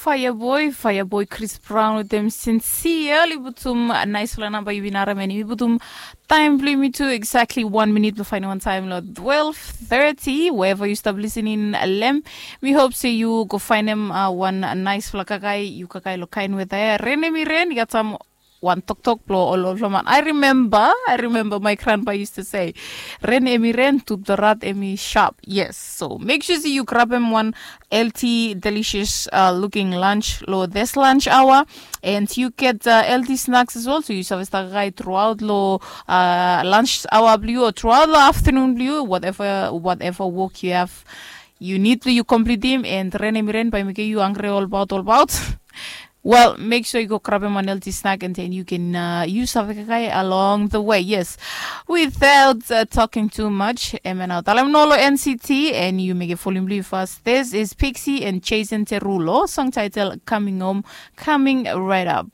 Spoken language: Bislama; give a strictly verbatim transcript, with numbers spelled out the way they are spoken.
Fireboy, Fireboy Chris Brown wetem Sincere, oli putum naisfala namba yumi naram, and yumi putum taem blong yumi tu exactly one minute blong faenem wan taem long twelve thirty, wherever yu stap listening long hem. Mi hop se yu go faenem wan naisfala kakae, yu kakae long kaen weta ya. Ren hemi ren, i gat sam wan toktok blong ol olflaman. I remember, I remember my grandpa used to say, ren hemi ren, tubdorat hemi sharp. Yes, so make sure se yu grabem wan healthy, delicious looking lunch long this lunch hour, and you get healthy snacks as well, so yu save stap kakae throughout long lunch hour blong yu o throughout long afternoon blong yu, whatever, whatever work you have, you need blong yu completem, and ren hemi ren bae mekem yu hangre olbaot olbaot. Well, make sure yu go grabem wan healthy snack, and then you can yu save kakae along the way. Yes, without talking too much, hemia nao talem no long N C T, and yu mekem folem blong yu fas. This is Pixie and Jason Terulo, song title Coming Home, coming right up.